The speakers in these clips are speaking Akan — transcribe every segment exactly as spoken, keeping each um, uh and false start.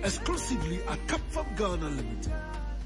Exclusively at Capfab Ghana Limited.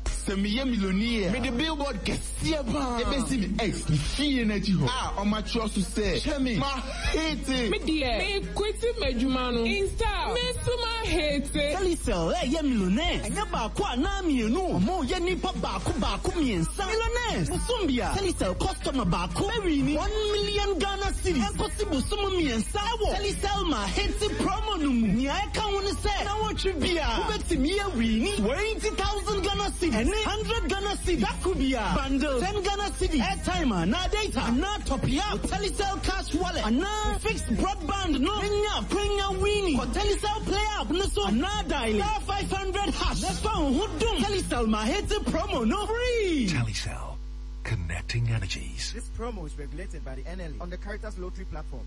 Sɛ meyɛ millionaire, mede billboard kɛseɛ paa ɛbɛsi me ex ne fie n'akyi hɔ a ɔmatwerɛ so sɛ hwɛ me ma hete. Me deɛ, me quit m'adwuma no. Instead, me nso ma hete. Telecel ɛyɛ millionaires. Ɛnyɛ baako anaa mmienu. Ɔmo yɛ nipa baako baako mmiɛnsa. Millionaires. Bosom bia. Telecel customer baako. Bɛwin one million Ghana cedis. Ɛnkɔsi bosom mmiɛnsa ɛwɔ Telecel ma hete promo no mu. Nea ɛka ho ne sɛ na wɔtwe bia. Wobɛtumi awin twenty thousand Ghana cedis. Ɛne hundred Ghana cedis. Dako bia. Bundle ten Ghana cedis. Airtime anaa data. Anaa top up. Telecel cash wallet. Anaa fixed broadband no. Nya kwanya win. Kɔ Telecel play app no so. Anaa dial star five hundred hash. Nefa wo ho dom. Telecel ma hete promo no free. Telecel. Connecting energies. This promo is regulated by the N L A on the Caritas Lottery platform.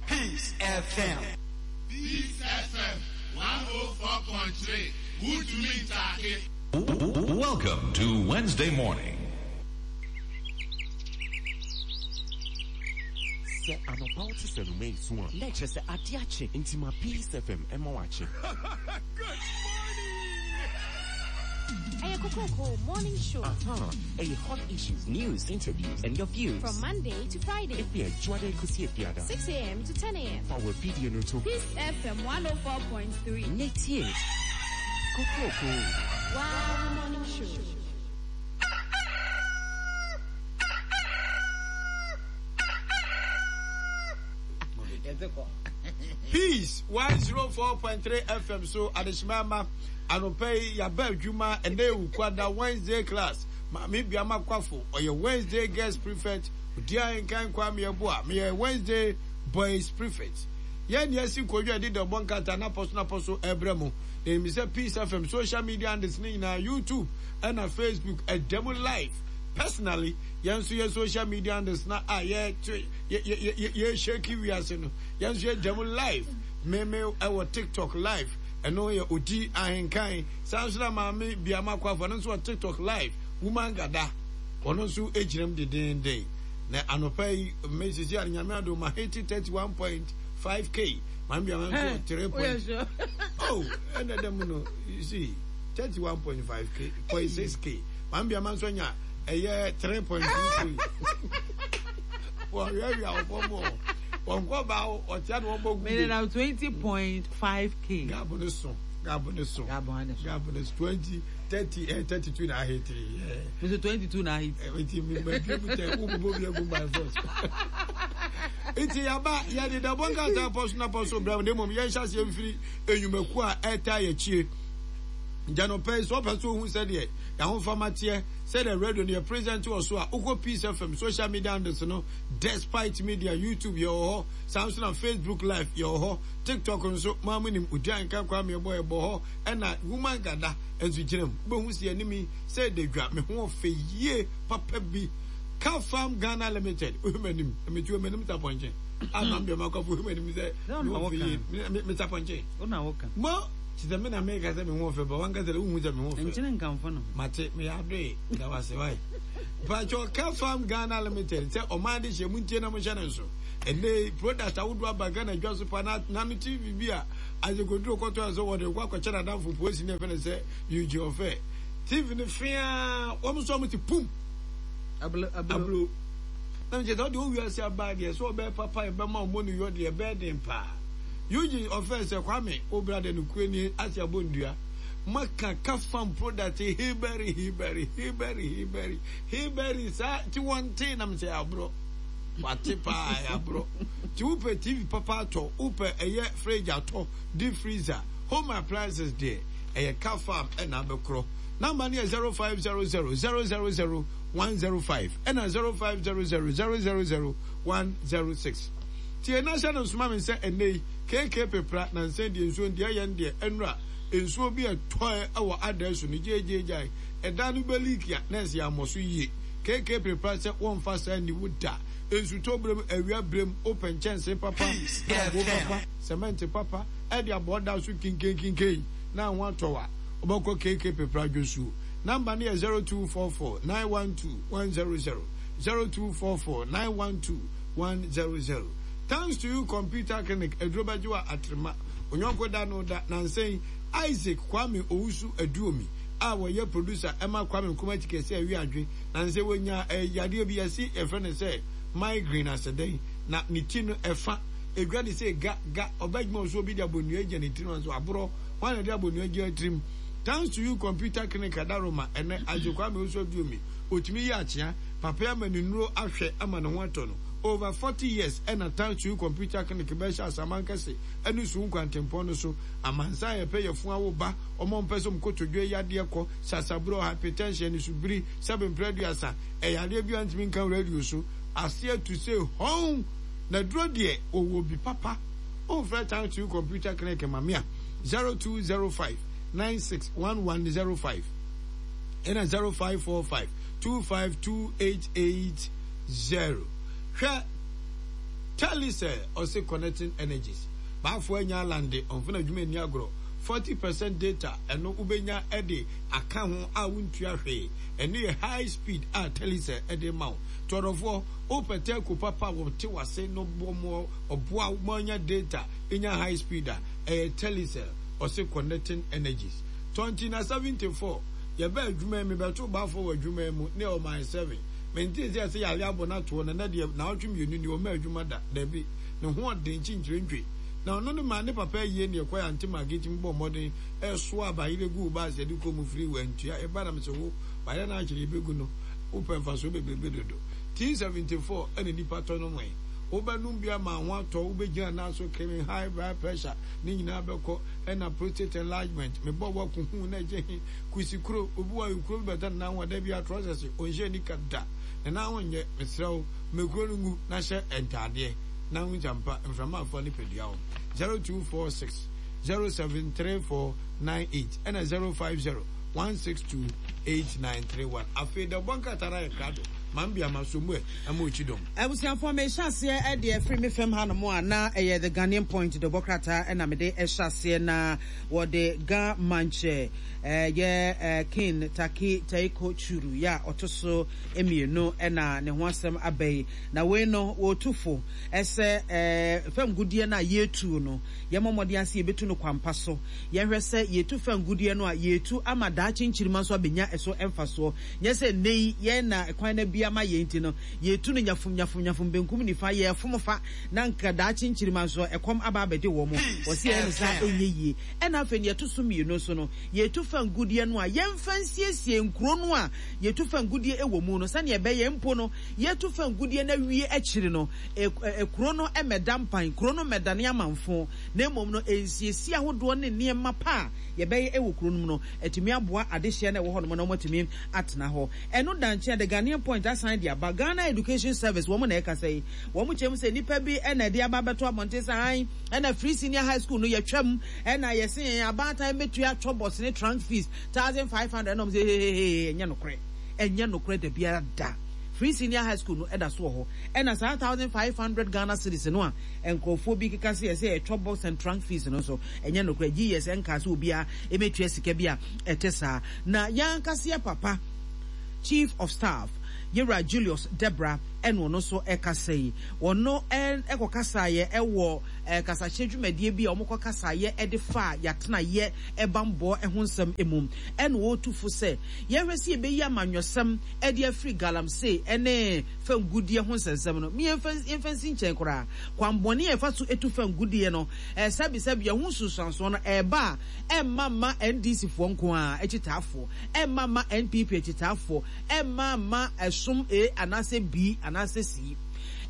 Peace F M. Peace F M one oh four point three. Welcome to Wednesday morning. Sɛ anɔpa wote sɛ no mei so a, na ɛkyerɛ sɛ ade akye nti ma Peace F M ɛma wakye. Good morning! Ɛyɛ Kokroko Morning Show. Aha, ɛyɛ hot issues, news, interviews, and your views. From Monday to Friday. Efi Adwoade kosi Efiada. six A M to ten A M. Fa wɔ video no to. Peace F M one oh four point three. Netie. Kokroko. Wow, Morning Show. Peace one oh four point three F M so Adeshimama Anope Yaba Juma and Kwada Wednesday class. Mami Biama Kwafo or your Wednesday guest prefect Udia Nkan Kwame Yeboah me Wednesday boys prefect. Yen yesi kodwa di de bonkata na poso na poso ebremo. Na mi se Peace F M social media and this na YouTube and na Facebook a demo live. Personally, yen so your social media and this na ah ye ye ye ye shaky we as no. Yen so demo live. Me me our TikTok live. And no ye odi ahenkan. Sansra mami Biama Kwafo no so TikTok live. Woman gada. Ono so ejirem de den den. Na anopa yi me sisi anyame ado ma hit thirty-one point five K. Mami Biama so three point. Oh, and them no you see thirty-one point five K point six K. Mami Biama so nya eh three point two K. Well, we are more. One go bow or ten one more. Made it twenty point five K. Gabon so. Gabon so. Gabon is twenty, thirty, eh, thirty-two na hit. Yeah. Mister twenty-two na hit. By force. Iti yaba ya de da bonga ta poso na poso bra de mom ye hye mfiri enyumaku a eta ye chie. Jano pay so person who said ye ya ho famatie said the radio near present also a ukɔ Peace F M social media and no Despite Media YouTube ye ho Samsung and Facebook Live ye ho TikTok nso maamu nim odi anka kwa me boy bo ho e na woman gada enso gyinam be hu se animi say de dwa me ho fe yie papa bi Kafam Ghana Limited ohumanim me tu omanim taponche amam be makofo ohumanim say me me taponche ona woka mo ti me na me ka say me ho fe ba wan ka say wo hu say me ho fe nchine nkamfo no mate me adwe da wase wai Pacho Kafam Ghana Limited say o ma de hye muntie na mo hye ne so ene product awodo aba Ghana dwa so pa na na T V bi a azekoduro koto so wo de kwa kwa chana danfo posi ne fe ne say you ofe T V ne fia wo mo so mo ti pum ablo ablo na me je do wi ase aba de so be papa e be ma mo no yo de be den pa Eugene ofe se kwame obra de no kuani ase abondua maka Kafam product hiberi hiberi hiberi hiberi hiberi sa ti one na me se abro wate pa abro ti upe T V papa to upe eye fridge ato deep freezer home appliances there eye Kafam e na bekro number ni zero five zero zero zero zero zero one zero five and zero five zero zero zero zero zero one zero six. Ti na sha no suma me se enei K K pepra na nse de nsuo de ye de enra nsuo bi eto e wo address no jejeje e da no belikia na se amoso yie K K pepra se won fa sa ni wuda nsuto brem awia brem open chance papa papa cement papa e de aboda so kinkin na ho atowa obako K K pepra dwosu number ni zero two four four nine one two one zero zero zero two four four nine one two one zero zero. Thanks to you Computer Clinic Edrobajiwa Atrema Onyonko da no da na nsɛn Isaac Kwame Owusu Aduomi a wɔyɛ producer ɛma Kwame Nkrumah Kyikɛse awi adwe na nsɛ wɔnya yadeɛ bi yɛsi yɛfrɛ no sɛ migraine asɛdɛn na ne ti no ɛfa edwa de sɛ ga ga ɔbɛdwuma so obi de abonnua gya ne tiri no so aborɔ wɔn na de abonnua gya tirim. Thanks to you computer clinic adaroma ɛnɛ Isaac Kwame Owusu Aduomi otumi yi akyea papa ama ne nnuro ahwɛ ama ne ho atɔ no over forty years ɛna Thanks to you computer clinic bɛhyɛ asaman kɛse ɛne su nkwantempɔn no so amansa yɛpɛ yɛfun awo ba ɔmo mpɛ sɛ ɔmkotodwe yadeɛ kɔ sasaburo hypertension ne subiri sɛbe mprɛduasa ɛyadeɛ bi a ntumi nka radio so aseɛ tu sɛ hɔn na duro deɛ ɔwɔ bi papa ɔmfrɛ Thanks to you computer clinic mamea zero two zero five nine six one one zero five ɛna zero five four five two five two eight eight zero. Hwɛ Telecel ɔse connecting energies baafo anya alande ɔmfo na adwuma ani agorɔ forty percent data ɛno wobɛnya ɛde aka ho a wontua hwee ɛno yɛ high speed a Telecel ɛde ma wo tɔrɔfoɔ wopɛ telco papa wɔte wase no bɔ ɔboa ma anya data nya high speed a ɛyɛ Telecel ɔse connecting energies twenty na seventy four yɛbɛ adwuma mi bɛto baafo wɔ adwuma mu ne ɔman seven mente sɛ sɛ yare abɔ no atoɔ na na deɛ na ɔtwe mmienu ni ɔma adwuma da dabi ne ho ɔden kyinkyerɛntwe na ɔno ne ma ne papa yie ne ɛkɔ yɛ ante ma getimi bɔ mmɔden ɛso abayere gu baas yɛde kɔ mu firi wantua ɛba nam sɛ wo bayɛ no akyerɛ yɛbɛgu no wopɛ mfasoɔ bebrebe dodo T seventy four ɛna nipa tɔ no mɔe wobɛnom bi ama ho atɔ wobɛgyina nan so kemi high blood pressure ne nyinaa bɛkɔ ɛna prostate enlargement mebɔ wɔ hu na gye he kusi kuro obi wɔ kuro bi bɛda ne nan ho da bi atrɔsɛse ɔnhyɛ nika da ne nan ho nyɛ mesrɛ wo mekuro no ngu na hyɛ ntaadeɛ na ho gyampa mframa afa ne padua wo zero two four six zero seven three four nine eight ɛna zero five zero one six two eight nine three one afei da bɔ nkrataa na yɛ krado mambi ama so mu ɛ ama okyi dɔm. Abusuafoɔ mehyɛ aseɛ ɛde afiri me fam hanom a na ɛyɛ the Ghanaian Point de bɔ krataa ɛna mede ɛhyɛ aseɛ na wɔde Ga Mankyɛ ɛyɛ King Taki Taiko Churu ya ɔto so mmienu ɛna ne ho asɛm aba yi na wei no wɔtu fo ɛsɛ ɛɛ fam gudeɛ no a yɛtu no yɛmmɔ mmɔden ase yɛbɛtu no kwampa so yɛhwɛ sɛ yɛtu fam gudeɛ no a yɛtu ama daakye nkyirima nso abɛnya ɛso ɛmfasoɔ nyɛ sɛ nnɛ yi yɛn na kwan na bi ama yɛn ti no yɛtu no nyafum nyafum nyafum benkum nifa yɛ fom fa na nka daakye nkyirima nso ɛkɔm aba abɛde wɔ mo wɔsi yɛn no saa ɛnyɛ yie ɛna afei ne yɛto so mmienu nso no yɛtu fam gudeɛ no a yɛmfa nsiesie nkuro no a yɛtu fam gudeɛ ɛwɔ mu no sɛnea ɛbɛyɛ mpo no yɛtu fam gudeɛ no awie akyiri no ekuro no ɛmɛda mpan kuro no mɛdane amanfo na mmom no nsiesie ahodoɔ ne nneɛma pa a yɛbɛyɛ ɛwɔ kuro no mu no ɛtumi aboa adehyeɛ no ɛwɔ hɔ nom na wɔatumi atena hɔ ɛno dankyɛn the Ghanaian Point asan de aba Ghana Education Service wɔn na ɛkasa yi wɔn kyerɛ mu sɛ nipa bi ɛna ɛde aba abɛto abɔnten sɛ an ɛna free senior high school no yɛtwam ɛna yɛse yɛn abaatan bɛtua twɔ bɔs ne trunk fees thousand five hundred ɛna wɔn sɛ hehehe ɛnyɛ nokorɛ ɛnyɛ nokorɛ da biara da free senior high school no ɛda so wɔ hɔ ɛna saa thousand five hundred Ghana cedis no a nkurɔfoɔ bi keka sɛ yɛsɛ yɛtwɔ box and trunk fees no nso ɛnyɛ nokorɛ gye yɛ sɛ nka sɛ obiara ɛbɛtua sika bi a ɛte saa na yɛn ankasa papa Chief of Staff Yɛwura Julius Debra ɛna ɔno nso ɛkasa yi ɔno ɛkɔ kasaeɛ ɛwɔ kasakyerɛ dwumadie bi a wɔkɔ kasaeɛ ɛde fa yɛatena yɛ ɛbambɔ ɛho nsɛm emu ɛna wɔretu fo sɛ yɛhwɛ sɛ yɛbɛyi amanyɔsɛm ɛde afiri galamsey ɛne fangudeɛ ho nsɛnsɛm no yɛmfa yɛmfa nsi nkyɛn koraa kwanbɔne a ɛfa so etu fangudeɛ no ɛsɛbisɛbi ɛho nsunsuansoɔ no ɛɛba a ɛmma mma N D C foɔ nko a akyitaafoɔ ɛmma mma N P P akyitaafoɔ ɛmma mma ɛsom A anaasɛ B anaasɛ C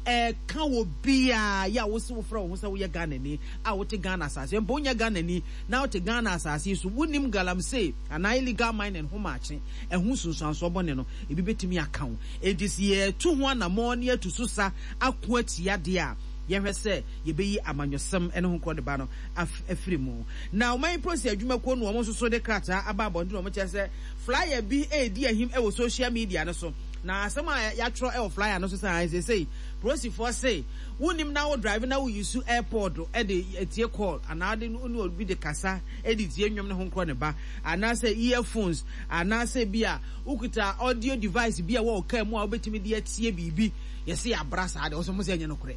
ɛka wɔ biaa yɛ a wosi wofrɛ wo ho sɛ woyɛ Ghanani a wote Ghana asase mpo wonyɛ Ghanani na wote Ghana asase so wonim galamsey anaa illegal mining ho maakye ɛho nsunsuansoɔ bɔne no ebi bɛtumi aka wo enti sɛ yɛtu ho anammɔn ne yɛtu so sa ako atia deɛ a yɛhwɛ sɛ yɛbɛyi amanyɔsɛm ne ho nkorɔ de ba no afiri mu na ɔman polisi adwumakuo no wɔn nso so de krataa aba abɔnten wɔn kyerɛ sɛ flyer bi edi ahim ɛwɔ social media no so na asɛm a yɛatwerɛ ɛwɔ flyer no so sɛ ansesei polisifoɔ se wonim na wo drive na wo use airpod ɛde etie call anaa de ne obi de kasa ɛde tie nnwom ne ho nkorɔ ne ba anaasɛ earphones anaasɛ bi a wokuta audio device bi a wɔwɔ kaa mu a wobɛtumi de atie biribi yɛse yɛabra saa de wɔsɛ mo sɛ ɛnyɛ nokorɛ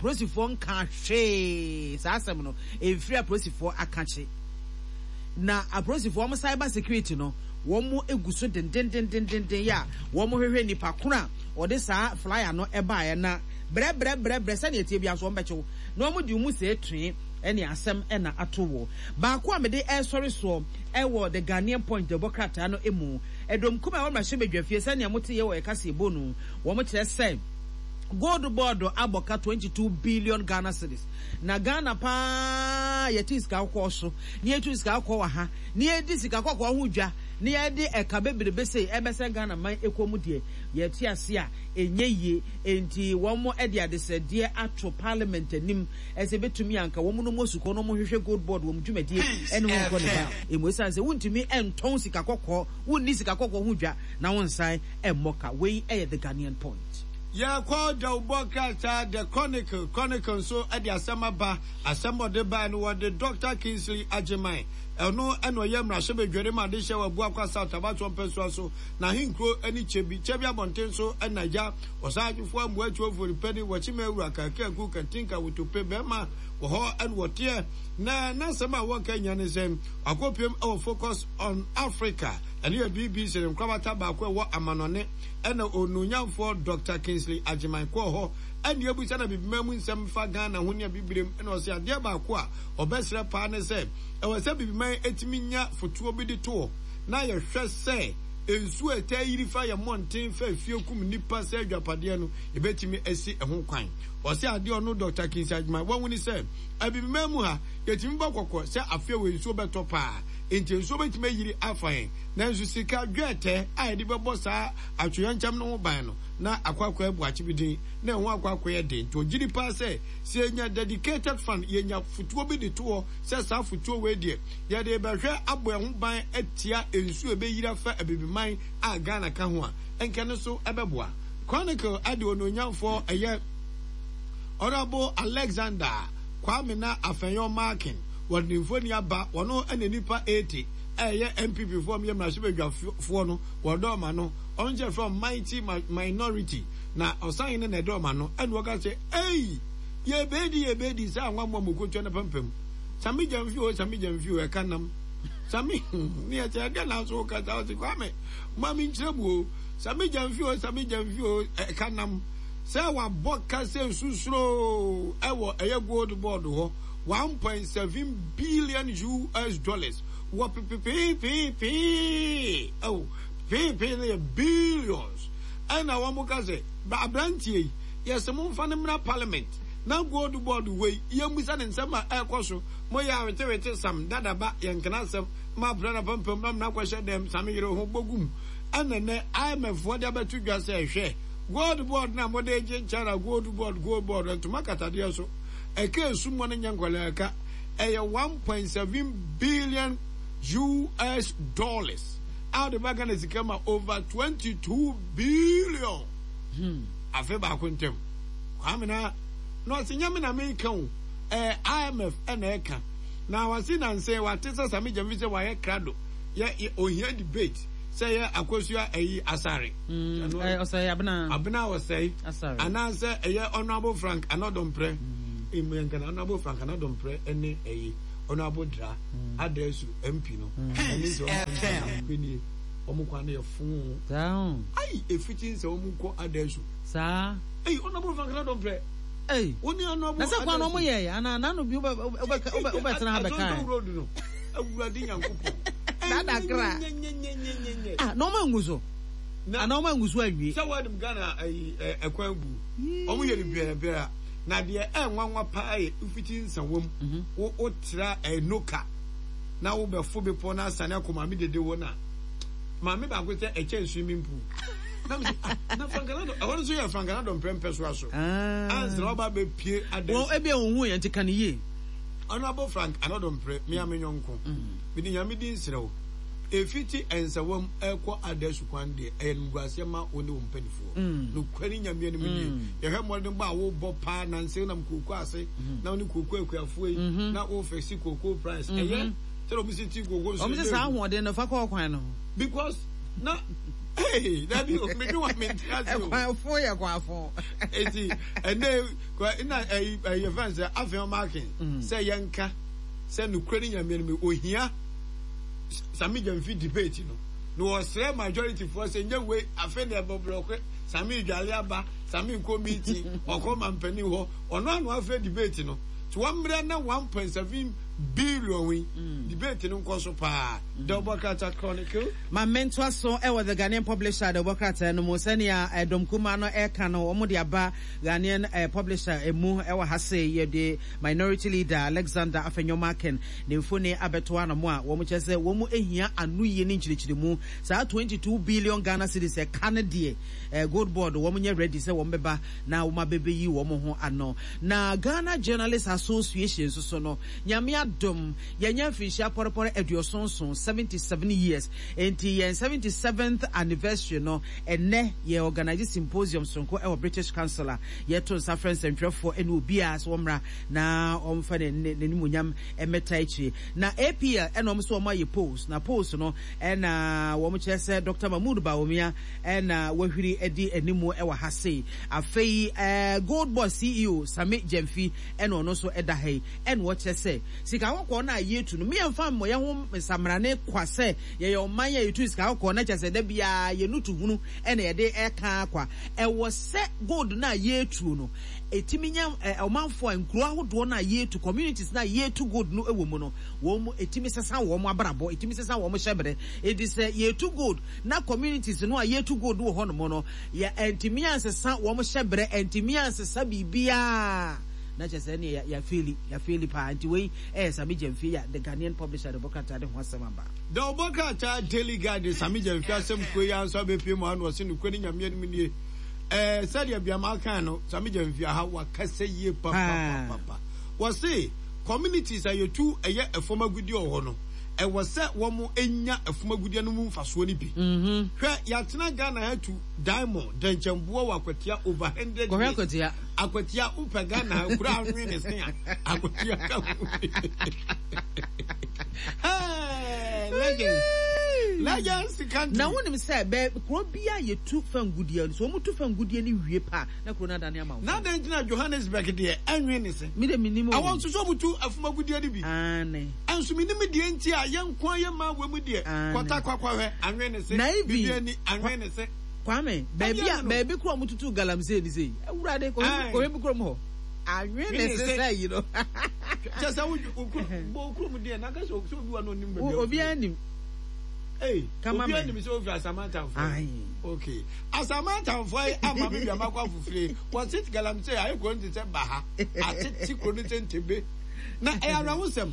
polisifoɔ nka hwee saa asɛm no ɛmfiri a polisifoɔ aka kye Na apolisifoɔ wɔn cyber security no wɔn egu so dendendendenden yɛ a wɔn hwehwɛ nipa koro a ɔde saa flyer no ɛbaeɛ na brɛ brɛ brɛ brɛ sɛnea etie bi aso wɔn bɛkyew na wɔn di wɔn sɛ etue ɛne asɛm ɛna ato wɔ baako a mede ɛsɔre soɔ ɛwɔ The Ghanaian Point dɛbɔ krataa no emu ɛdɔm kum a ɛwɔ mmarahyɛbadwafie sɛnea mo te yɛ wɔ ɛka sie bo no wɔn kyerɛ sɛ Gold Board abɔka twenty-two billion Ghana cedis. Na Ghana pa yɛte sika kɔkɔɔ so na yɛtu sika kɔkɔɔ wɔ ha na yɛdi sika kɔkɔɔ ho dwa na yɛde ɛka bebrebe sei ɛbɛsɛ Ghana man ɛkɔ mu deɛ yɛte ase a ɛnyɛ yie. Enti wɔn de adesrɛdeɛ ato parliament anim ɛsɛ bɛtumi anka wɔn no mu asukɔ no wɔn hwehwɛ Gold Board wɔn dwumadie ɛne wɔn nkɔ ne ba emu ɛsiane sɛ wontumi ɛntɔn sika kɔkɔɔ, wonni sika kɔkɔɔ ho dwa na wɔnsan ɛmmɔ ka. Wei ɛyɛ The Ghanaian Point. Yɛkɔ dawubɔ krataa The Chronicle. Chronicle nso de asɛm aba. Asɛm a ɔde bae no, wɔde Doctor Kingsley Agyeman, ɛno na ɔyɛ mmarahyɛbadwani ma adehyɛ wɔ Abuakwa South abatoɔ mpɛsoa so, n'ahenkuro ne Kyebi, Kyebi abɔnten so na agya, Ɔsaadwofoɔ Amoa Tuofori Panin, Wɔkyema Awura, Kaakaku, Katinka, Wotope, bɛrima wɔ hɔ na wɔteɛ. Na n'asɛm a wɔka nyinaa ne sɛ, wakɔpiem wɔ Focus on Africa, ɛno yɛ B B C ne nkorabata baako a ɛwɔ amanɔne. Ɛna Onuonyamfoɔ Doctor Kingsley Agyeman kɔɔ hɔ ɛna yɛbusa no Abibiman mu nsɛm fa Ghana ho ne Abibirem, ɛna ɔse adeɛ baako a ɔbɛsrɛ paa ne sɛ ɛwɔ sɛ Abibiman ɛtumi nya fotoɔ bi de to hɔ na yɛhwɛ sɛ nsuo a ɛtaa yiri fa yɛn mmɔnten fa efie kum nnipa sɛ adwapadeɛ no yɛbɛtumi asi ɛho kwan. Ɔse adeɛ ɔno Doctor Kingsley Agyeman wahu ne sɛ Abibiman mu ha yɛtumi bɔ kɔkɔ sɛ afei wɔ nsuo bɛtɔ paa nti nsuo bɛtumi ayiri afa yɛn. Nanso sika dwɛɛtɛ a yɛde bɛbɔ saa atoyerɛnkyɛm no ho ban no, na akɔ akɔyɛ boakye bi din, na ɛho akɔ akɔyɛ den. Nti ɔgye di paa sɛ, sɛ yɛnya dedicated fund, yɛnya fotoɔ bi de to hɔ sɛ saa fotoɔ wei deɛ, yɛde rebɛhwɛ abɔ yɛn ho ban atia nsuo a ɛbɛyiri afa Abibiman a Ghana ka ho a, nka ɛno nso ɛbɛboa. Chronicle de onuonyamfoɔ ɛyɛ Honourable Alexander Kwamena Afenyo-Markin, wɔde ne mfoni aba, wɔno na nnipa eighty a ɛyɛ N P P foɔ yɛ mmarahyɛbadwafoɔ no wɔdɔ ɔma no. Ɔno nkyɛn frɛ mighty minority na ɔsan ne na ɛdɔ ɔma no. Ɛna wɔka sɛ ei, yɛbɛdi yɛbɛdi sɛ anwa mmoa mɔkɔtua no pampam sami gyamfi o, sami gyamfi o, ɛka nam sami ne yɛ sɛ ɛdɛ na so kasa ɔse Kwame ma me nkyerɛ mu o, sami gyamfi o, sami gyamfi o, ɛka nam sɛ wabɔ ka sɛ nsusuro ɛwɔ ɛyɛ Gold Board hɔ one point seven billion U S dollars wɔ pepepeepee ɛwɔ peepee no yɛ billions. Ɛna wɔn ka sɛ aberanteɛ yi yɛsɛ mo nfa no mmra parliament na Gold Board wei yɛmmusa ne nsɛm a ɛrekɔ so. Mo yɛ awetewete sam dadaba yɛnkena asɛm ma apena na pampam na mena akɔhyɛ dɛm same yere ho bɔgum. Ɛna nɛ I M F foɔ de abɛto dwa sɛ hwɛ Gold Board na mode gye China Gold Board, Gold Board ntoma katadeɛ so ɛka esu mu no nyɛ nkɔlaa ɛka ɛyɛ one point seven billion U S dollars a wɔde ba Ghana sika ma over twenty-two billion. hmm. Afe baako ntɛm Kwame na na ɔsi nyame na meka o, ɛɛ I M F ɛna ɛka na wasi na nsɛn wate sɛ Sami Gyamfi sɛ wayɛ krado yɛ ohia debate sɛ yɛ Akosua ɛyi Asare. Ɔsɛe Abena. Abena Ɔsɛe anaasɛ ɛyɛ Honourable Frank Anɔdɔmprɛ emu yɛn kana Honourable Frank Anɔdɔmprɛ ɛne ɛyi Honourable Dra Adɛsu M P no ɛne sɛ ɔmo mpenie ɔmo kwan no yɛ fon ayi efiti nsɛ ɔmo kɔ Adɛsu. Saa. Ɛyi Honourable Frank Anɔdɔmprɛ. Ɛyi wọ́n ní Honourable na sɛ kwan na ɔmo yɛ yɛ ana nanu bi wobɛ wobɛ tena ha bɛka yɛ. Road no Awurade Nyankopɔn. Dadakra ah, na ɔmo angu so ana ɔmo angu so awie. Sɛ wɔde Ghana ayi ɛkwan gu ɔmo yɛ no biara biara na deɛ ɛnwanwa paa yɛ mfiti nsawam wo wotra ɛnoka na wobɛfo bepɔ na asane akɔ maame dede wɔ na maame baako sɛ ɛkyɛn swimming pool na mi sɛ ah, na Frankanado ɛhɔ nso yɛ Frankanado mprɛmpɛ so aso ansa ɔba bɛ pie adɛ. Wɔn ebi ehun yɛn ti ka ne yie. Honourable Frank Anɔdɔ Mprɛ mmea me nyɔnko mede Nyame din serɛ wo, ɛfiti Ɛnsawam ɛkɔ Adasu kwan deɛ ɛyɛ nimguaseɛ ma wo ne wo mpanifoɔ. Nokware ne Nyame anim nie, yɛhwɛ mmɔdenbɔ a wobɔ paa nanse wonam kooko ase na wo ne kooko akuafoɔ yi na wo fix kooko price ɛyɛ sɛdeɛ ɔmo si ti kooko nso. Ɔmo sɛ saa ahoɔden no fa kɔ ɔkwan no ho. Because na hey, dabi o, medwe wa mente ase o. Ɛkwan fo yɛ kwan fo. Eti ɛnɛ na ɛyi ɛyɛ fɛn sɛ afei ɔmo aken sɛ yɛnka sɛ nokura ne Nyame no ohia Sammy Gyamfi debate no na wɔsrɛ majority foɔ sɛ nyɛ wei afei na ɛbɔ blɔke Sammy dwale aba Sammy nkɔ meeting ɔkɔ mampanin hɔ ɔno ano afrɛ debate no nti wɔmmerɛ na one point seven billion yi debate no nkɔ so paa. The Ɔbɔkrata Chronicle. Ma mentoa so wɔ The Ghanaian Publisher de ɔbɔkrataa no mu sɛnea dɔm kumaa no ɛka no wɔn de aba Ghanaian Publisher mu wɔ ha sei yɛde Minority Leader Alexander Afenyo-Markin ne mfoni abɛto ano a wɔn kyerɛ sɛ wɔn hia anoyie ne nkyerɛkyerɛmu saa twenty two billion Ghana cedis ɛka no deɛ Gold Board wɔn nyɛ ready sɛ wɔn bɛba na wɔn abɛbɛyi wɔn ho ano. Na Ghana Journalists Association nso so no Nyame adom yɛanya mfirinhyia pɔrepɔre aduɔson nson, seventy seven years, enti yɛn seventy seventh anniversary no ɛnnɛ yɛ organise symposium soronko wɔ British Council a yɛto nsa frɛ nsɛntwerɛfoɔ ne obiara sɛ wɔmmra na wɔmfa n'animuonyam mmɛtaa akyire. Na A P L ɛna wɔn nso wɔn ayɛ polls, na polls no ɛna wɔn kyerɛ sɛ Doctor Mahmood Bawumia ɛna wahwiri adi animu wɔ ha sei. Afei ɛɛ Gold Board C E O Sammy Gyamfi ɛna ɔno nso ɛda ha yi ɛna ɔkyerɛ sɛ sika kɔkɔɔ no a yɛtu no meyɛmfa mmɔ yɛn ho nsamrane kwa sɛ yɛyɛ ɔman a yɛtu sika kɔkɔɔ na kyerɛ sɛ da biara yɛn tu hunu ɛna yɛde ɛka kwa. Ɛwɔ sɛ gold no a yɛtuo no ɛtumi nya ɔmanfoɔ a nkuro ahodoɔ no a yɛtu communities no a yɛtu gold no wɔ mu no wɔn ɛtumi sesa wɔn abrabɔ, ɛtumi sesa wɔn hyɛbrɛ. Enti sɛ yɛtu gold na communities no a yɛtu gold wɔ hɔnom no yɛ ɛntumi ansesa wɔn hyɛbrɛ, ɛntumi ansesa biribiara na kyerɛ sɛ ɛne yɛafeeli yɛafeeli paa. Nti wei ɛyɛ Sammy Gyamfi a The Ghanaian Publisher de bɔ krataa de ho asɛm aba. The ɔbɔ krataa Daily Guide de Sammy Gyamfi asɛm kuo yi ara nso abɛpue mu ano ɔse nokorɛ ne Nyame anim nie. Ɛɛ sɛdeɛ Biama kan no Sammy Gyamfi aha wakasa yie papapapapa. Wɔse communities a yɛtu ɛyɛ ɛfam agudeɛ wɔ hɔ no ɛwɔ sɛ wɔn nya ɛfam agudeɛ no mu mfasoɔ no bi. Hwɛ yɛatena Ghana ha tu diamond dɛnkyɛmboɔ wɔ Akwatia over hundred years. Akwatia. Akwatia wopɛ Ghana ha kura anwe ne se a Akwatia ka ho. Hey, legends. Legends country. Na wonim sɛ bɛ kuro bi a yɛtu fangudeɛ no so wɔn tu fangudeɛ no wie pa na kuro no adane ama wo. Na adɛn nti na Johannesburg deɛ ɛnwe ne se? Mi de mi nim o. Awɔ nso so wɔn tu afumagudeɛ no bi. Aane. Ɛnso mi nim deɛ nti a yɛn nko yɛ mmaa wɔ mu deɛ. Kɔta kwakwa hwɛ anwe ne se. Na even Bibi ani anwe ne se. Kwame baabi a baabi kuro wɔn tutu galamsey ni sei. Awurade kɔhwɛ kɔhwɛ bi kurom hɔ. Anwe ne se sɛ yi no. Kyɛ sɛ wo bɔ kurom deɛ na kasa obi wa no nim baabi. Obi anim. Hey, obi anim sɛ ofi Asamantamfoɔ. Okay. Asamantamfoɔ yi ama me wiama kɔ afofire. Wɔse galamsey ayɛ kuro no te sɛ baha. Atete kuro no sɛ ntebe. Na ɛyɛ awerɛhosɛm.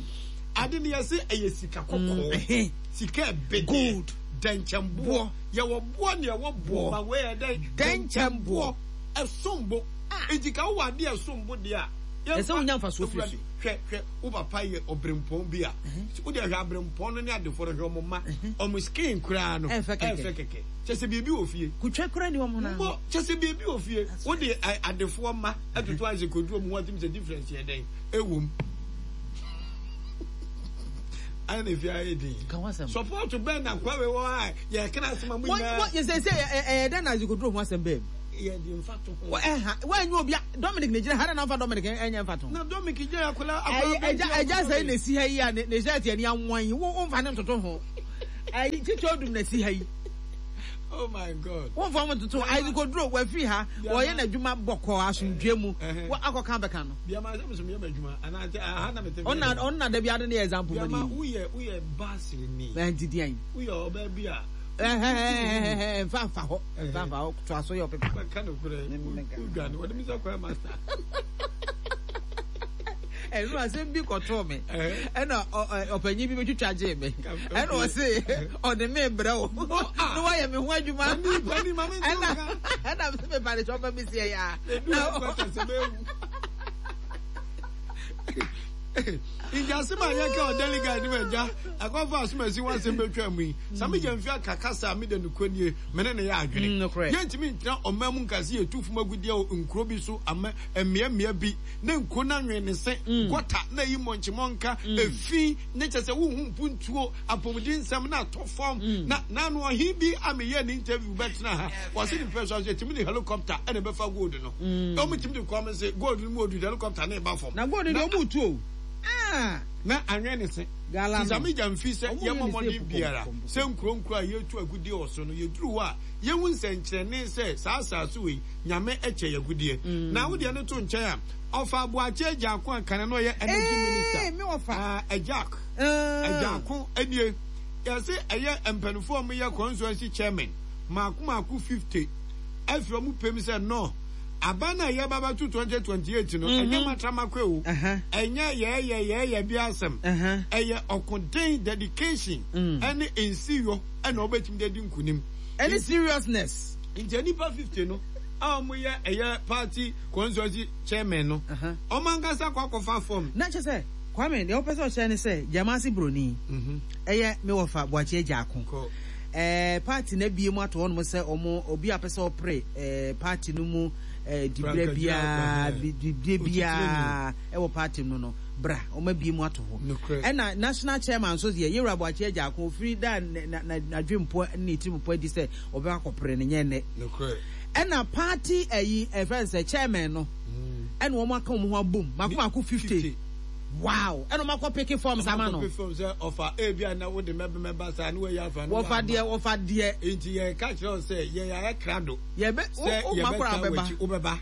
Ade no yɛse ɛyɛ sika kɔkɔɔ. Sika ɛbɛdeɛ. Gold. Dɛnkyɛmboɔ. Yɛwɔ boɔ ne ɛwɔ boɔ. Ma wei yɛ dɛn? Dɛnkyɛmboɔ. Ɛsom bo. Enti ka wowɔ adeɛ ɛsom bo deɛ a. Ɛsɛ wonya mfasoɔ firi so. Hwɛ hwɛ wo papa yɛ ɔbrempɔn bi a. Wo deɛ hwɛ abrempɔn no ne adefoɔ no hwɛ ɔmo mma. Ɔmo skin koraa no. Ɛnfɛ kɛkɛ. Ɛnfɛ kɛkɛ. Kyɛ sɛ biribi wɔ fie. Kutwa koraa ni wɔn ho na. Mbɔ kyɛ sɛ biribi wɔ fie. Wo de adefoɔ mma ɛtoto ayɛ sɛ koduro mu ho atim sɛ difference yɛ dɛn ɛwɔ mu. Ayɛ na efi ayɛ din. Support bɛn na kwawe wɔ a yɛ kana asɛm a mo nyinaa. Wọ́n yẹ sẹ sẹ ẹ ẹ dẹ́n na azikoduro ho asɛm bẹ́ẹ̀. Yɛ di nfa to ho. Ɛha wɔn obi Dominic ne gyina ha na nfa Dominic ɛnyɛ nfa to ho. Na Dominic gyina akɔla akɔla bɛn. Ɛgya ɛgya sɛ na esi ha yi a ne ne shirt yɛ ni anwan yi wo nfa ne ntoto ho. Ɛyi titi odum na esi ha yi. Oh my God. Wɔn fa wɔn toto azikoduro wɔafiri ha wɔyɛ n'adwuma bɔkɔɔ asomdwe mu wɔ akɔka bɛka no. Biama sɛ mesomyɛ m'adwuma anaasɛ aha na mete. Ɔna ɔna dabi ade ne yɛ example mu ni. Biama woyɛ woyɛ baasiri ni. Ɛnti diɛn. Woyɛ ɔbaa bi a. Nfa nfa hɔ nfa nfa hɔ to aso yɛ ɔpepa. Bɛka no korɛ wodwane wɔde mi sɛ kɔɛ master. Ɛnu asɛm bi kɔtoo me ɛna ɔpanyin bi bɛtwitwa gyee me ɛna ɔse ɔde me brɛ wo na wayɛ me ho adwuma ɛna ɛna sɛ mepa ne kyɛ ɔma me sie yɛ a nti asɛm a yɛka wɔ Daily Guide no agya akɔfa asomasi ho asɛm bɛtwa mu yi Sammy Gyamfi aka kasa a meda nokorɛ nie me ne no yɛ adwene yɛntumi ntena ɔman mu nka sɛ yɛtu fam agudeɛ wɔ nkuro bi so ama mmeammea bi ne nkuro no anwene ne se gɔta na ɛyi mmɔnkyemmɔnka efi ne kyɛ sɛ wohu mpuntuo apɔmuden nsɛm na atɔ fam na naano ɔhe bi a meyɛ ne interview bɛtena ha wɔse ne mpɛ so aso yɛtumi de helicopter ɛna ɛbɛfa gold no ɔmo tumi de kɔm se gold no mu odu helicopter ne ɛba fam na gold no deɛ ɔmo tu o. Ah. Na anwene ne se. Tisami gyamfi sɛ yɛmmɔ mmɔden biara sɛ nkuro nkuro a yɛtu agudeɛ wɔ so no yɛduru hɔ a yɛhu nsɛnkyerɛnne sɛ saa asase wei Nyame kyɛ yɛ agudeɛ. Mm. Na wodeɛ no to nkyɛn a ɔfa Aboakye Agyarko a kane no ɔyɛ energy minister. Me ɔfa. Ah, Agyark. Agyarko nie. Yɛse ɛyɛ mpanimfoɔ a wɔyɛ constituency chairman mako mako fifty afiri wɔn pɛm sɛ no aba no a yɛba bɛto twenty twenty eight no ɛnyɛ matramakwe o, ɛnyɛ yɛɛyɛ yɛɛyɛ bi asɛm, ɛyɛ ɔkoden, dedication ɛne nsiyɔ ɛna wɔbɛtumi de adi nkunim. Ɛne seriousness. Nti nnipa fifty no a wɔyɛ ɛyɛ party constituency chairman no, wɔn ankasa kɔ akɔfa form. Na kyerɛ sɛ Kwame, deɛ wopɛ sɛ ɔkyerɛ ne sɛ Gyamase Broni, ɛyɛ me wɔfa Boakye Agyarko. Ɛɛ party no abie mu ato hɔnom sɛ wɔn obi a pɛ sɛ ɔpere ɛɛ party no mu ɛɛ dibrɛ biara dibrɛ biara ɛwɔ party no no bra wɔn abie mu ato hɔ. Ɛna national chairman nso deɛ Yewura Boakye Agyarko ofiri da na na n'adwempo ne ne tirimupɔ adi sɛ ɔbɛkɔ akɔpere no nyɛ nnɛ. Ɛna party ɛyi ɛfɛn sɛ chairman no ɛna wɔn aka wɔn ho abom mako mako fifty. Wow! Ɛna ɔmo akɔ peke forms ama no. Ɔmo akɔ peke forms sɛ ɔfa ebi a na wode mɛbɛ mɛba saa ne wɔyi afa no. Wɔfa deɛ wɔfa deɛ. Nti yɛ ka kyerɛ wo sɛ yɛ yɛ ayɛ krado. Yɛ bɛ sɛ wo yɛ ma bɛ koraa taa wobɛba. w'akyi wobɛba.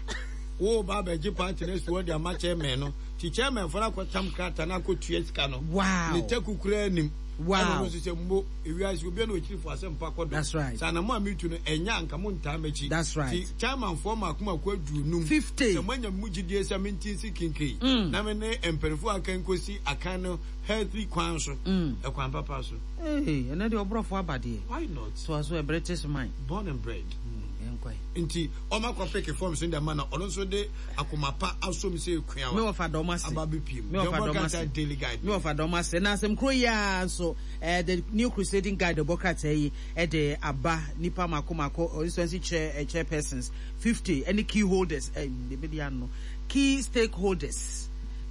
Wo ba abɛgye party no asi hɔ de ama chairman no. Nti chairman fo no akɔ tam krataa no akɔ tua sika no. Wow! Ne taku koraa nim. Wow! Ɛna ɔno nso sɛ mmo ewiase obiara na ɔkyiri fo asɛmpa kɔ do. That's right. Sɛ anamɔ a metu no ɛnyɛ a anka mo ntaa m'akyi. That's right. Nti chairman foɔ mmaako mmaako aduonum. Fifty. Sɛ moanya me mu gyidie sɛ mente nsi kinkei Mm. na me ne mpanimfoɔ a aka nkɔsi akan no healthy kwan so. Mm. Ɛkwan papa so. Hey, ɛnɛ deɛ ɔborɔfo aba deɛ. Why not? So aso a British man. Born and bred. Mm, yɛnkɔe. Nti ɔma kɔ peke forms no de ama na ɔno nso de akoma pa asom sɛ ekuawa. Me wɔfa dɔm ase. Aba bepiem. Me wɔfa Deɛ dɔm ɔbɔ ase. krataa Daily Guide. Me wɔfa dɔm ase. Na asɛm koro yi ara nso, eh, the New Crusading Guide ɔbɔ krataa yi de aba nipa mako mako constituency chair, eh, chairpersons fifty ɛne key holders, eh, ebi ano, key stakeholders,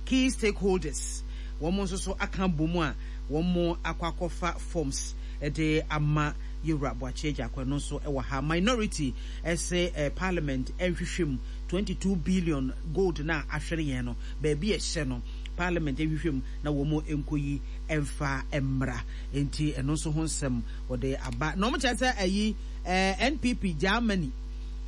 key stakeholders. Wɔn nso so aka bɔ mu a wɔn akɔ akɔfa forms de ama Yewura Boakye Agyarko no nso wɔ ha. Minority ɛsɛ eh, parliament nhwehwɛ mu twenty-two billion gold na ahwere yɛn no baabi ɛhyɛ no parliament nhwehwɛ mu na wɔn nkɔyi mfa mmra nti ɛno nso ho nsɛm wɔde aba na wɔn kyerɛ sɛ ɛyi eh, N P P Germany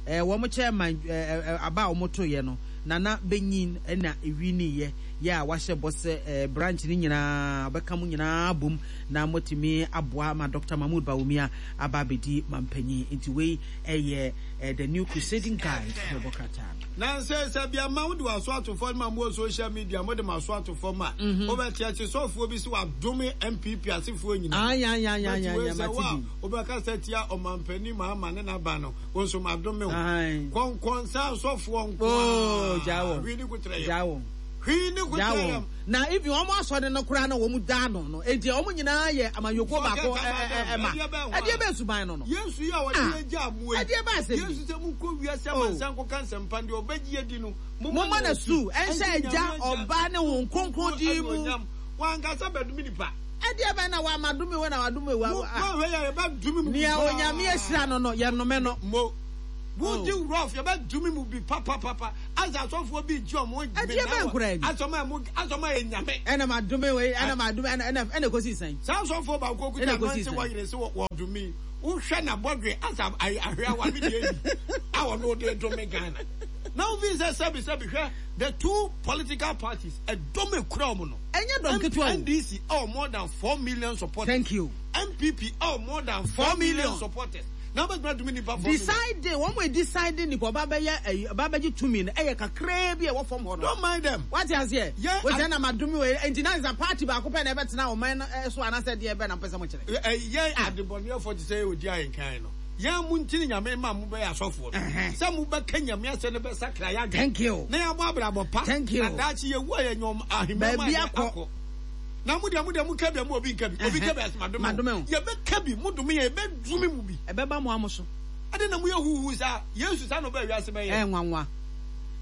eh, wɔn chairman eh, aba a wɔn to yɛ no Nana Benyin na ewi ne yɛ yɛ a wahyɛ bɔ sɛ eh, branch ne nyinaa ɔbɛka mu nyinaa bom na motumi aboa ma Doctor Mahmoud Bawumia aba abɛdi mampanyin nti wei ɛyɛ eh, the New Crusading Guide na ɛbɔ krataa no. Na sɛ sɛ bia ma wode w'aso ato fam ma mo social media mo de m'aso ato fam a wobɛte akyi sɔfoɔ bi sɛ wadome N P P asefoɔ nyinaa. Ay, ay, ay, ay, But ay, wei ay, sɛ mate wo a bi. wobɛka sɛ tia ɔmampanin Mahama ne n'aba no wo nso madome wo. Aye. Kɔnkɔnsa asɔfoɔ nko Oh, ara. gyaa wɔn. Hwii ne kotrɛ yam. Gyaa wɔn. Hwii ne kotrɛ Gyaa wɔn. yam. Na even wɔn asɔre no koraa na wɔn da ano no enti wɔn nyinaa yɛ amanyɔkuo Forget baako, about ɛ, ɛ, them. ɛ, ɛma. Ɛdeɛ bɛn hɔ Ɛdeɛ a? bɛn suban no no? Yesu yi a wɔde Ah. yɛn gya amoa yi. Ɛdeɛ bɛn asɛm bi? Yesu sɛ monkɔ wiase Oh. amansan nkɔka nsɛmpa deɛ ɔbɛgye adi no, momma Momma no no su. Ɛnhyɛ Ɛnti agya, Nyame agya, ɔba ne Honhom Kronkron din mu. Anuonyam. Wankasa bɛdome nipa. Ɛdeɛ bɛn na wama dome wei na wadome wei? Mo, mo ahwɛ yɛ, yɛbɛdome mu Nea bi paa. Onyame ahyira no no, yɛnnome no. Mo. Wodi rough, yɛbɛdome mu bi papapapa. Asa asɔfoɔ bi gye ɔmo Ɛdeɛ bɛn koraa ni? Asɔm a mo, asɔm a yɛ nyame. Ɛna ma dome wei, ɛna ma dome, ɛna, ɛna, ɛna ekosi sɛn? Saa asɔfoɔ baako kuta Ɛna ekosi nansi sɛn? wɔ yere se wɔ, wɔ dome. Wohwɛ na bɔdwe asa ahwɛ awa bi deɛ ni. A wɔn de dome Ghana. Now we say sɛbi sɛbi hwɛ the two political parties ɛdɔm ekura wɔn no. Ɛnyɛ dɔm ketewa o. N D C oh more than four million supporters. Thank you. N P P oh more than four Four million million. supporters. Now but do nipa four million. Decide wɔn mo decide nipa ɔba bɛyɛ ɛyi ɔba bɛgye tumi no ɛyɛ kakraa bi a ɛwɔ fam hɔ no. Don't mind them. Wate aseɛ? Yeah, Wọ́n I- ti ɛna ma dumi wɔ nti na nsa party baako pɛ na ɛbɛtena ɔman no ɛso anaasɛ deɛ ɛbɛ na mpɛ sɛ mo kyerɛ. Ɛ, ɛ, yɛn adebɔneyɛfoɔ te sɛ odi ahenkan no. Yɛn mo ntini nyame ma mo bɛyɛ asɔfoɔ no. Ɛhɛn. Sɛ mo bɛka nyame asɛ no bɛsakra yɛ adwene. Thank you. Na yɛabɔ abrabɔ pa. Thank you. Na daakye yɛwu a yɛnyɛ ahemman mu Baabi a yɛ akɔ. akɔ. Na mo deɛ, mo deɛ, mo ka bi a, mo obi nka bi. Obi Ɛhɛn. ka bi a, sɛ madome Madome wo. wo. Yɛbɛka bi, mo dome yɛn, yɛbɛdome mo bi. Ɛbɛba mo amo so. Ade na mo yɛ huhu saa. Yesu saa na ɔbɛɛ wiase bɛyɛ. Ɛyɛ nwanwa.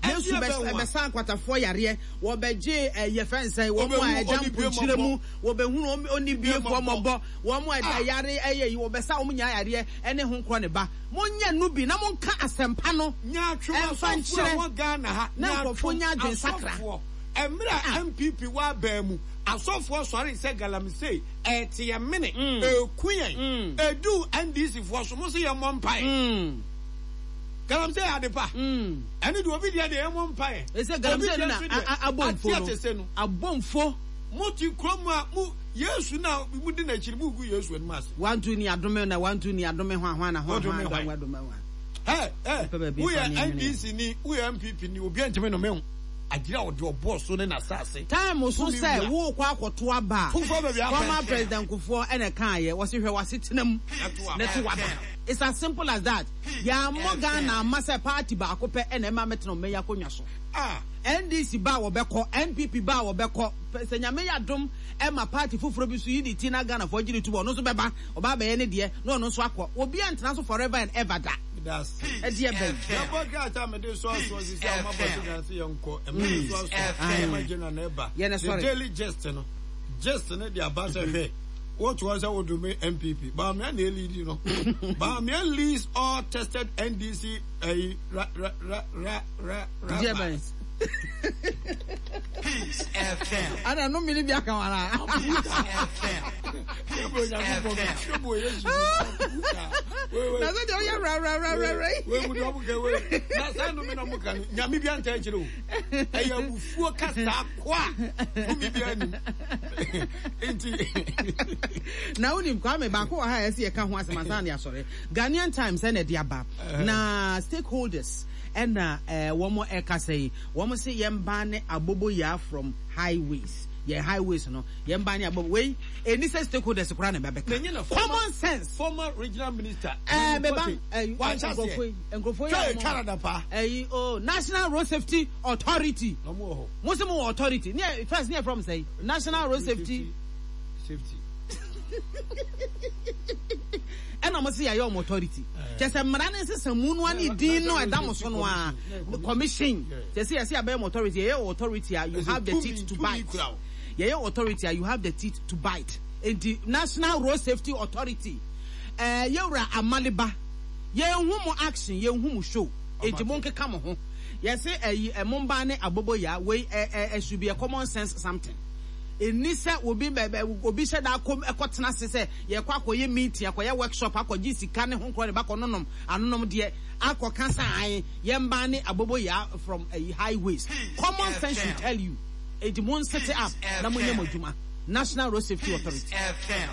Ɛdeɛ Yesu bɛ- bɛn wa? bɛsa akwatafoɔ yareɛ, wɔbɛgye, eh, yɛfɛ nsɛn, wɔn Wɔbɛhu a ɛgya onibiemɔbɔ. mponkyerɛ mu, wɔbɛhunu ɔm-, onibiefoɔ Onibiemɔbɔ. mɔbɔ, wɔn a Ah. yare ɛyɛ yi, wɔbɛsa wɔn nyinaa yareɛ ɛne ho nkorɔ ne ba. Monyɛ no bi na monka asɛmpa no. Nyaatwom Ɛmfa asɔfoɔ a nkyerɛ. wɔ Ghana ha, Na nyaatwom nkurɔfoɔ nya adwensakra. asɔfoɔ Emra M P P wa bɛn asɔfoɔ sɔre sɛ galamsey ɛte yɛ mene eku yɛn edu N D C foɔ so mo se yɛ mmɔ mpae. Galamsey adepa. Ɛne de obi deɛ deɛ yɛ mmɔ mpae. Ɛsɛ galamsey na abomfo no. Abomfo. Mo ti kurom a mo Yesu na mo di n'akyiri mo gu Yesu anim ase. Wantu ni adome na wantu ni adome ho ahwa na ho ahwa adome ho. Hey, hey, we are N D C ni, we are M P P ni, obi ntimi no me. Agira odi obo so ne na sase. Time so say wo kwa akoto aba. Former President Kufuor ene kan ye, wo se hwe wasetenam. Ne to aba. It's as simple as that. Ya mo Ghana ma se party ba akope ene ma metena me yakonwa so. Ah, N D C ba wo beko, N P P ba wo beko. Se nyame ya dom e ma party foforo bi so yi di na Ghana for giri tubo no so beba, oba ba ye ne de, no no so akọ. Obi antena so forever and ever da. That's it. Yeah, the daily gist no. Gist no the ambassador. What was I would do me M P P? But I'm lead you know. But I'm leads all tested N D C eh ra ra ra ra ra ra. Peace F M. I don't know me bi aka wala. Peace F M. Peace F M. Na so dey ya ra ra ra ra ra. We mu do abuke we. Na sa no me na mo kan. Nyame bi anta akire o. Eya bufuo kasa kwa. Tumi bi ani. Enti na unim kwa me ba ko ha ese ye ka ho asem asan ya sore. Ghanaian Times e na de aba. Na stakeholders ena eh womo e ka say womo say yemba ne abobo ya from highways. Yeah, highways no. Yemba ne abobo we eni say stakeholders kura na bebeka. Common sense. Former regional minister. Eh beba eh nkrofo ya Canada pa. Eh oh National Road Safety Authority. No mo ho. Mo say mo authority. Ne first ne from say National Road Safety Safety. And I'm say your authority. Just a man is a moon one din no adamoso no a commission. Just say say about authority, your authority you have the teeth to bite. Yeah, your authority you have the teeth to bite. In the National Road Safety Authority. Eh yewra amaliba. Ye hu mo action, ye hu mo show. Enti mo nkeka mo ho. Ye say eh momba ne abobo ya we eh should be a common sense something. Enisa obi bebe obi hye da akom ekotena se se ye kwa akoye meeting akoye workshop akogi sika ne ho nkro ne ba kononom anonom de akoka san ye mba ne abobo ya from uh, highways. Common sense should tell you edi mon set up na mo nyam adwuma National Road Safety Authority.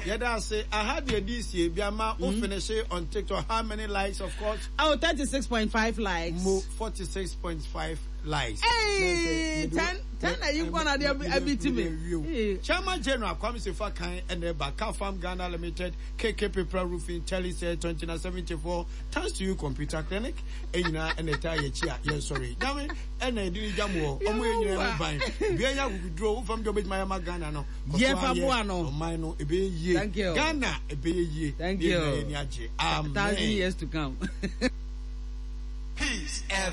Yeah, that's it. I had the D C B ama o finish on TikTok. How many likes, of course? Oh, thirty-six point five likes. Mo forty-six point five likes. Hey, ten, ten are you gonna be to me? Chairman General Kwame Sefa Kan and the Baka Farm Ghana Limited, K K Paper Roofing, Telly twenty-nine seventy-four, thanks to you Computer Clinic, and and the Taya Chia. Yes, sorry. Dame and the Jamu, Omo Ban, Bia draw from the Miami Ghana no. Yeah, Fabuano. Mino, ebe ye. Thank you. Ghana, ebe ye. Thank you. Amen. Thousand years to come.